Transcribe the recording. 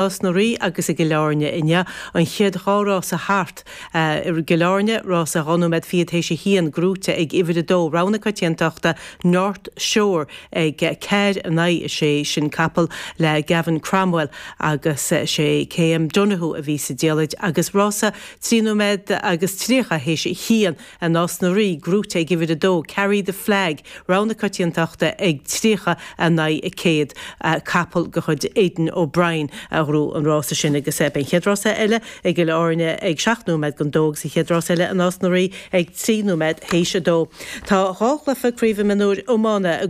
Nás na Rí agus i gCill Airne inniu. An chéad dá rása thart i gCill Airne, rása 12 nóiméad théis a haon, gnóite ag uimhir a dó, rogha na coitiantachta, North Shore ag 4 in aghaidh 6, sin capall le Gavin Cromwell agus sé KM Donoghue a bhí sa diallait agus rása 3 nóiméad agus 30 théis a haon i Nás na Rí, gnóite ag uimhir a dó, Carry the Flag, rogha na coitiantachta ag 30 in aghaidh 100. Capall de chuid Aidan O'Brien a ghnóthaigh an rása sin agus beidh an chéad rása eile i gCill Airne ag 7 nóiméad don dó agus an chéad rás eile i Nás na Rí ag 3 nóiméad théis a dó. Tá dhá chluiche craoibhe mionúir iomána.